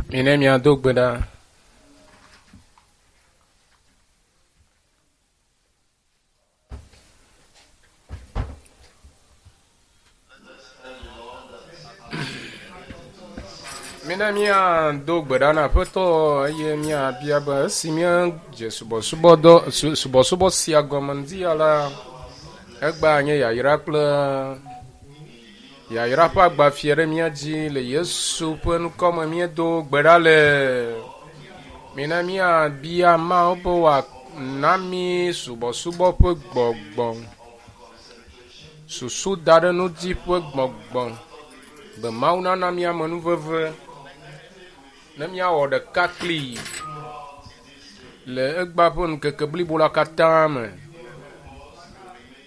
Mine miado gbe ɖa. Mina míado gbe ɖa na Aƒetɔ eye míabia be esi míedze subɔsubɔdɔ su, subɔsubɔ sia gɔme ŋdi ya la, egbea nye yayra kple yayra ƒe agbafia ɖe mía dzi le Yesu ƒe ŋkɔme míedo gbe ɖa le. Mina míabia Mawu be wòana mí subɔsubɔ ƒe gbɔgbɔ, susu da ɖe nu dzi ƒe gbɔgbɔ, be Mawu nana mí amenuveve ne míawɔ ɖeka kplii le egbea ƒe ŋkeke blibo la katã me.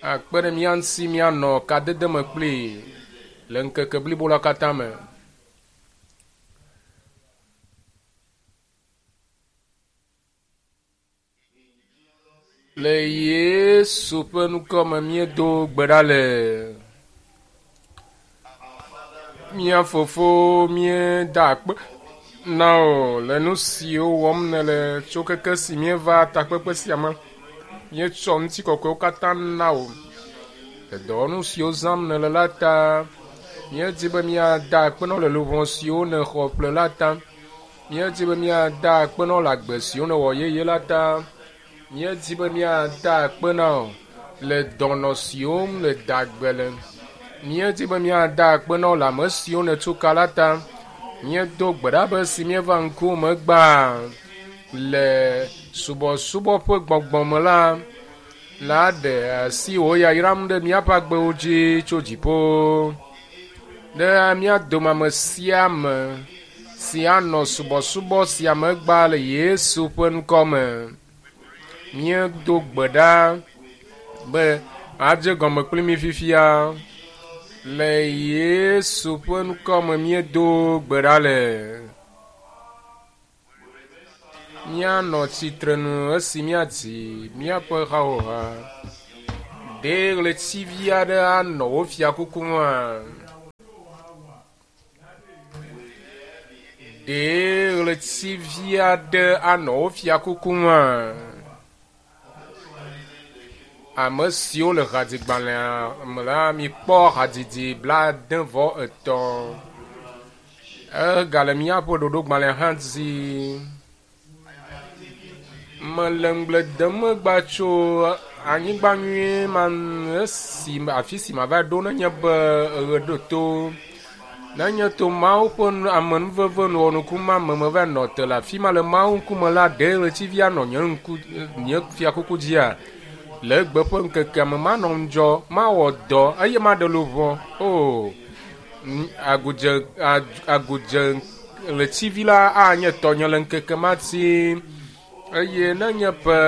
Akpe ɖe mía ŋuti míanɔ kadede me kplii le ŋkeke blibo la katã me. Le Yesu ƒe ŋkɔ me míedo gbe ɖa le. Mía fofo míeda akpe na wò le nu siwo wɔm nèle tso keke si míeva takpekpe sia me. Míetsɔ ŋutikɔkɔewo katã na wò. Le dɔwɔnu siwo zãm nèle la ta, míedi be míada akpe na wò le luʋɔ siwo nèxɔ ƒle la ta. Míedi be míada akpe na wò le agbe siwo nèwɔ yeye la ta. Míedi be míada akpe na wò le dɔnɔ siwo ŋu nèda gbe le. Míedi be míada akpe na wò le ame siwo nètu ka la ta. Míedo gbe ɖa be esi míeva ŋkuwòme gbã le subɔsubɔ ƒe gbɔgbɔ me la, la ɖe asi wò yayram ɖe míaƒe agbewo dzi tso dziƒo. Ɖe mía dome ame sia ame si anɔ subɔsubɔ sia me gbã le Yesu ƒe ŋkɔ me. Míedo gbe ɖa be adze gɔme kpli mí fifia. Le Yesu ƒe ŋkɔ me míedo gbe ɖa le. Míanɔ tsitrenu esi míadzi míaƒe hawoha. Ɖe ɣletivi aɖe anɔ wò fiakuku ŋua? Ɖe ɣletivi aɖe anɔ wò fiakuku ŋua? Ame siwo le hadzigbalẽa me la, mikpɔ hadzidzi 73. Egale míaƒe ɖoɖogbalẽa hã dzi. Mele ŋugble dem egba tso anyigba nyui ma ŋu esi afi si mava ɖo nenye be eɣe ɖo to. Nenye to Mawu ƒe amenuveve wɔnuku ma me meva nɔ te le afi ma le Mawu ŋkume la, ɖe ɣletivi anɔ nye ŋku nye fiakuku dzia? Le egbe ƒe ŋkekea me manɔ ŋudzɔ, mawɔ dɔ eye maɖe luʋɔ. O, agudze agudze ɣletivi la anye tɔnye le ŋkeke ma dzi. Eye nenye be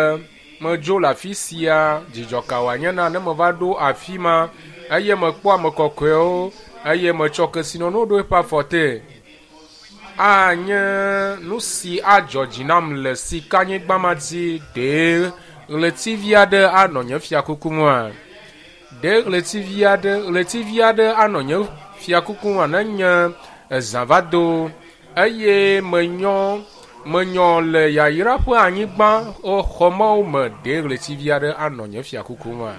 medzo le afi sia, dzidzɔ ka wòanye na ne meva ɖo afi ma eye mekpɔ ame kɔkɔewo eye metsɔ kesinɔnuwo ɖo eƒe afɔ te. Anye nu si adzɔ dzi nam le sikanyigba ma dzi. Ɖe ɣletivi aɖe anɔ nye fiakuku ŋua? Ɖe ɣletivi aɖe, ɣletivi aɖe anɔ nye fiakuku ŋua nenye ezã va do eye menyɔ, menyɔ le yayra ƒe anyigba xɔmewo me? Ɖe ɣletivi aɖe anɔ nye fiakuku ŋua?